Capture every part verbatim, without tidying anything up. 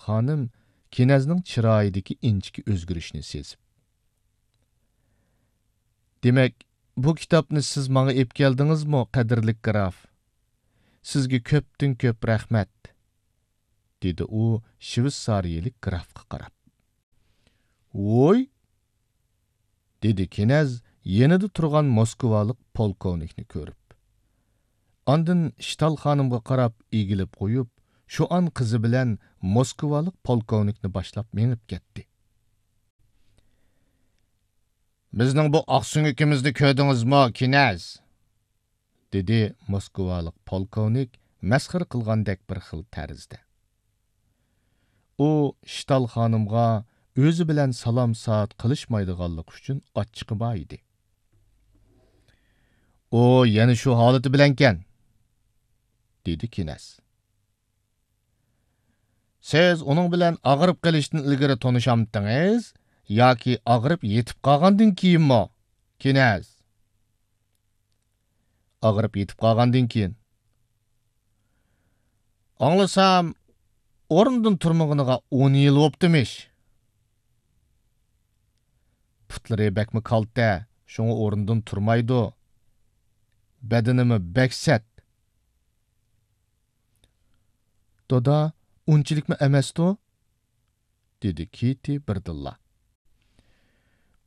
خانىم كىنەزنىڭ چىرايىدىكى ئىنچىكە ئۆزگىرىشنى سېزىپ. دېمەك، بۇ كىتابنى سىز ماڭا ئېلىپ كەلدىڭىزمۇ، قەدىرلىك گراف؟ سىزگە كۆپتىن كۆپ رەھمەت، دېدى ئۇ شۋېتسارىيەلىك گرافقا قاراپ. ۋوي! دېدى كىنەز يېنىدا تۇرغان موسكۋالىق پولكوۋنىكنى كۆرۈپ. ئاندىن شتال خانىمغا قاراپ ئېگىلىپ قويۇپ، شۇئان قىزى بىلەن موسكۋالىق پولكوۋنىكنى باشلاپ مېڭىپ كەتتى. بىزنىڭ بۇ ئاقسۆڭىكىمىزنى كۆردىڭىزمۇ، كىنەز؟ دېدى موسكۋالىق پولكوۋنىك مەسخىرە قىلغاندەك بىر خىل تەرزدە. ئۇ شتال خانىمغا ئۆزى بىلەن سالام-سائەت قىلىشمايدىغانلىقى ئۈچۈن ئاچچىقى بار ئىدى. ئۇ يەنە شۇ ھالىتى بىلەنكەن، دېدى كىنەز. سىز ئۇنىڭ بىلەن ئاغرىپ قېلىشتىن ئىلگىرى تونۇشامتىڭىز ياكى ئاغرىپ يېتىپ قالغاندىن كېيىنمۇ، كىنەز؟ ئاغرىپ يېتىپ قالغاندىن كېيىن. ئاڭلىسام، ئورنىدىن تۇرمىغىنىغا ئون يىل بوپتىمىش. پۇتلىرى بەكمۇ كالتە، شۇڭا ئورنىدىن تۇرمايدۇ. بەدىنىمۇ بەك سەت. دادا، ئۇنچىلىكمۇ ئەمەستۇ؟ دېدى كىتى بىردىنلا.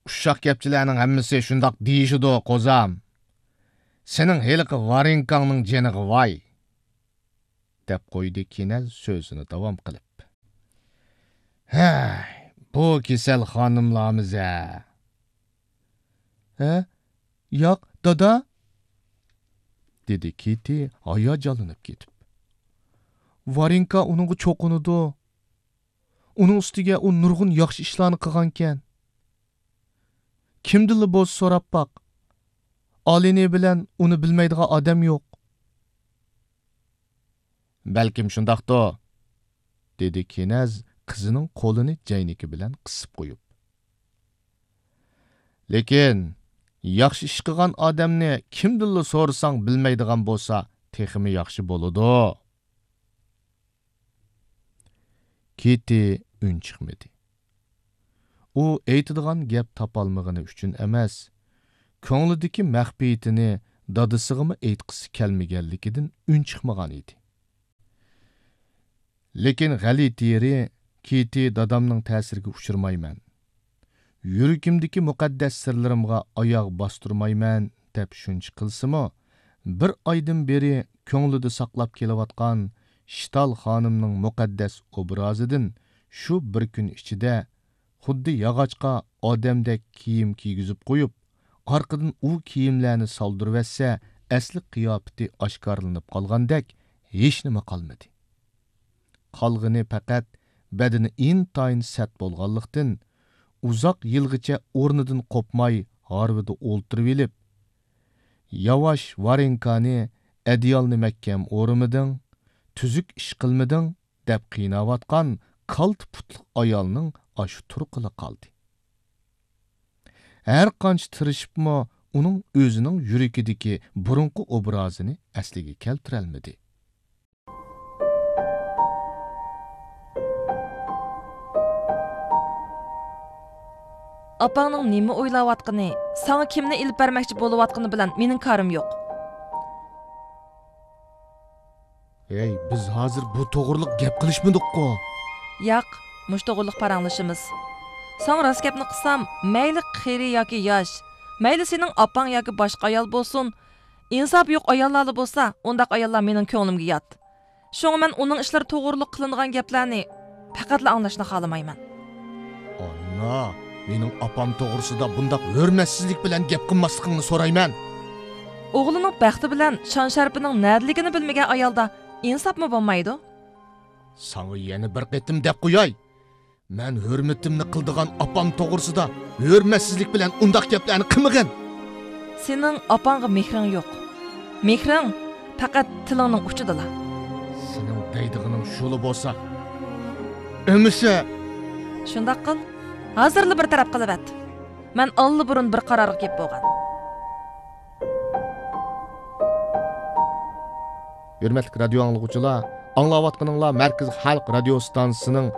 ئۇششاق گەپچىلەرنىڭ ھەممىسى شۇنداق دېيىشىدۇ، قوزام. سېنىڭ ھېلىقى ۋارېنكاڭنىڭ جېنىغا ۋاي! دەپ قويدى كىنەز سۆزىنى داۋام قىلىپ. ھەي، بۇ كېسەل خانىملارمىز-ھە! ھە؟ ياق، دادا! دېدى كىتى ھاياجانلىنىپ كېتىپ. ۋارېنكا ئۇنىڭغا چوقۇنىدۇ. ئۇنىڭ ئۈستىگە ئۇ نۇرغۇن ياخشى ئىشلارنى قىلغانىكەن. كىمدىنلا بولسا سوراپ باق. ئالىنى بىلەن ئۇنى بىلمەيدىغان ئادەم يوق. بەلكىم شۇنداقتۇ، دېدى كىنەز قىزىنىڭ قولىنى جەينىكى بىلەن قىسىپ قويۇپ. لېكىن، ياخشى ئىش قىلغان ئادەمنى كىمدىنلا سورىساڭ بىلمەيدىغان بولسا، تېخىمۇ ياخشى بولىدۇ. كىتى ئۈن چىقمىدى. ئۇ ئېيتىدىغان گەپ تاپالمىغىنى ئۈچۈن ئەمەس، كۆڭلىدىكى مەخپىيىتىنى دادىسىغىمۇ ئېيتقۇسى كەلمىگەنلىكىدىن ئۈن چىقمىغان ئىدى. لېكىن غەلىتە يېرى، كىتى دادامنىڭ تەسىرىگە ئۇچرىمايمەن، يۈرىكىمدىكى مۇقەددەس سىرلىرىمغا ئاياغ باستۇرمايمەن، دەپ شۇنچە قىلسىمۇ، بىر ئايدىن بېرى كۆڭلىدە ساقلاپ كېلىۋاتقان شتال خانىمنىڭ مۇقەددەس ئوبرازىدىن شۇ بىر كۈن ئىچىدە خۇددى ياغاچقا ئادەمدەك كىيىم كىيگۈزۈپ قويۇپ، ئارقىدىن ئۇ كىيىملەرنى سالدۇرۇۋەتسە، ئەسلى قىياپىتى ئاشكارىلىنىپ قالغاندەك ھېچنېمە قالمىدى. قالغىنى پەقەت بەدىنى ئىنتايىن سەت بولغانلىقتىن، ئۇزاق يىلغىچە ئورنىدىن قوپماي ھارۋىدا ئولتۇرۇۋېلىپ، ياۋاش ۋارېنكانى، ئەدىيالنى مەھكەم ئورىمىدىڭ، تۈزۈك ئىش قىلمىدىڭ، دەپ قىيناۋاتقان كالتە پۇتلۇق ئايالنىڭ ئاشۇ تۇرقىلا قالدى. ھەر قانچە تىرىشىپمۇ ئۇنىڭ ئۆزىنىڭ يۈرىكىدىكى بۇرۇنقى ئوبرازىنى ئەسلىگە كەلتۈرەلمىدى. ئاپاڭنىڭ نېمە ئويلاۋاتقىنى، ساڭا كىمنى ئېلىپ بەرمەكچى بولۇۋاتقىنى بىلەن مېنىڭ كارىم يوق. ھەي، بىز ھازىر بۇ توغرىلىق گەپ قىلىشمىدۇققۇ؟ ياق، مۇشۇ توغرىلىق پاراڭلىشىمىز. ساڭا راست گەپنى قىلسام، مەيلى قېرى ياكى ياش، مەيلى سېنىڭ ئاپاڭ ياكى باشقا ئايال بولسۇن، ئىنساپى يوق ئاياللارلا بولسا، ئۇنداق ئاياللار مېنىڭ كۆڭلۈمگە يات. شۇڭا مەن ئۇنىڭ ئىشلىرى توغرۇلۇق قىلىنىدىغان گەپلەرنى پەقەتلا ئاڭلاشنى خالىمايمەن. ئانا، مېنىڭ ئاپام توغرىسىدا بۇنداق ھۆرمەتسىزلىك بىلەن گەپ قىلماسلىقىڭنى سورايمەن. ئوغلىنىڭ بەختى بىلەن شان-شەرىپىنىڭ نەدىلىكىنى بىلمىگەن ئايالدا ئىنساپمۇ بولمايدۇ. ساڭا يەنە بىر قېتىم دەپ قوياي. مەن ھۆرمىتىمنى قىلىدىغان ئاپام توغرىسىدا ھۆرمەتسىزلىك بىلەن ئۇنداق گەپلەرنى قىلمىغىن. سېنىڭ ئاپاڭغا مېھرىڭ يوق. مېھرىڭ پەقەت تىلىڭنىڭ ئۇچىدىلا. سېنىڭ دەيدىغىنىڭ شۇلا بولسا، ئەمىسە. شۇنداق قىل، ھازىرلا بىر تەرەپ قىلىۋەت. مەن ئاللىبۇرۇن بىر قارارغا كېلىپ بولغان. ھۆرمەتلىك رادىيو ئاڭلىغۇچىلار، ئاڭلاۋاتقىنىڭلار مەركىزىي خەلق رادىيو ستانسىسىنىڭ